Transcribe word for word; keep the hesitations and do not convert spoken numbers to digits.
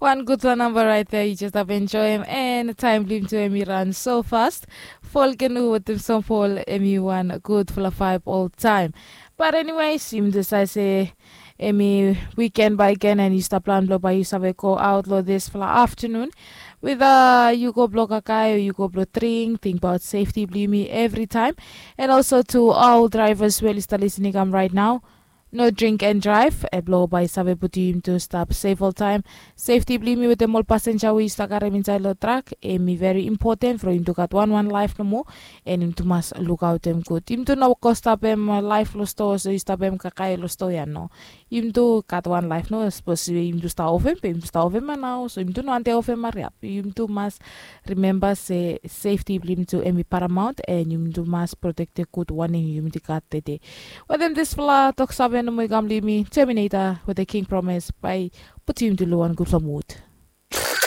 Wan gudfala namba raet ya, yu jes stap enjoem. En taem blong yumi tu em i ran so fast. Folkenu wetem Song Paul, em i wan gudfala vaeb oltaem. Bat eniwes, yumi tu save se em i wiken bae gen, en yu stap plan blong bae yu save go aot long disfala aftanun. Weda yu go blong kakae o yu go blong dring, tingbaot sefti blong yumi evritaem. En olso tu ol draevas we oli stap lisin i kam raet nao, no dring en draev, blong bae save putum yumi tu stap sef oltaem. Sefti blong yumi wetem ol pasenja we yu stap karem insaed long trak, em i veri impoten from yumi tu gat wanwan laef nomo. En yumi tu mas lukaotem gud. Yumi tu no go stapem laef long stoa, so yu stapem kakae long stoa ya, no. Yumi tu gat wan laef, no. Sapos yumi tu stap ovem, be yumi tu stap ovem ya nao, so yumi tu no wantem ovem hariap. Yumi tu mas rimemba se sefti blong yumi tu em i paramaon, en yumi tu mas protektem gud wanem yumi tu gat tede. Wetem disfala toksave nomo i kam long yumi, Terminator wetem King Promise, bae putum yumi tu long wan gudfala mud.